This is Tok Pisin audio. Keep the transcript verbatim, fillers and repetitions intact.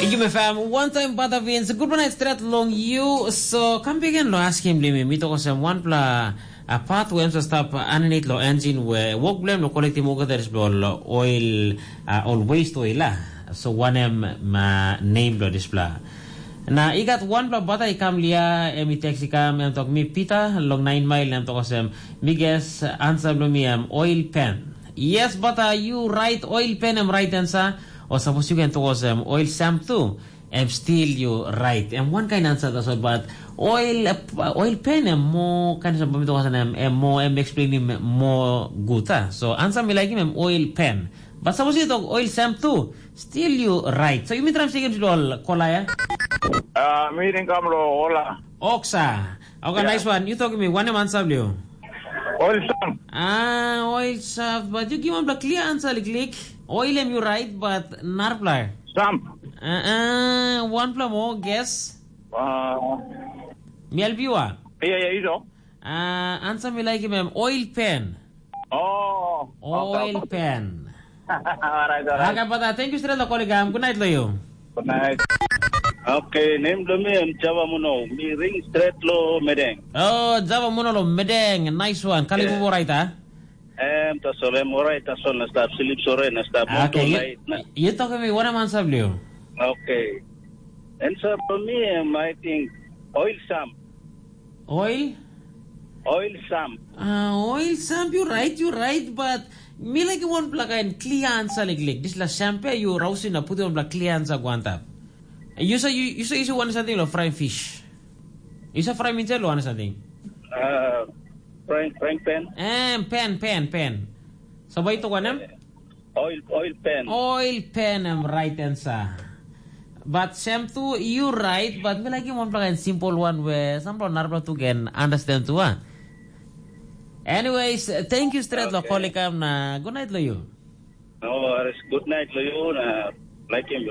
Yumi fam, one time bata Vince, good night stret long you. So, kam begin lo asking blimi, mi toko sem one pla a part where em sa stap aninit lo engine where work blame lo collective worker that is lo oil, uh, all waste oil la. So, one em ma name lo this pla. Na i gat one pla bata i kam lia, em i text i kam, em tok mi Peter, long nine mile, em toko sem, mi guess answer lo mi em oil pen. Yes, bata, you right, oil pen em right answer. O sapos yu ken toko sem oil shampoo, em still you right. Em one kind answer tasol, but oil, oil pen em mo kind of mi toko sem em mo em explaining mo good, ah. So answer mi like him em oil pen. But sapos you talk oil shampoo, still you right. So you mean tram second to all kolaya? Ah, mi ringkam lo ola. Oksa. Okay, yeah. Nice one. You talk to me. One answer blue. Oil shampoo. Ah, oil shampoo. But you give one clear answer, like, like. Oil em you right, but narpla. Shampoo. Uh, uh, one pla more guess. Uh, Mi help you ah. Yeah, yeah, you know. Uh, answer me like him, em oil pen. Oh, oil okay, okay. Pen. Alright, alright. Okay, but uh, thank you straight lo koligam. Good night lo you. Good night. Okay, name do me em Java Muno. Mi ring straight lo Medeng. Oh, Java Muno lo Medeng. Nice one. Kali yeah. Right, ah? Em tasol em orait tasol na stap slip sore na stap motu. Okay, you, lait na. You talk to me, what am answer blue? Okay. Answer for me, em, I think oil sam. Oil? Oil sam. Uh, oil sam, you right, you right, but me like one black and clear answer like, like this la champagne you rousing na put on black clear answer go on top. You say you you say you say one something like frying fish. You say fry me lo one something. Uh, Frank, Frank Pen. Em, pen, pen, pen. So bai tok wanem? Oil, oil pen. Oil pen em right answer. But Sam tu, you right, but me like him one black and simple one where some people not to can understand tu ah. Anyways, thank you straight lo okay. Kolikam na good night lo you. No worries. Good night lo you na like him.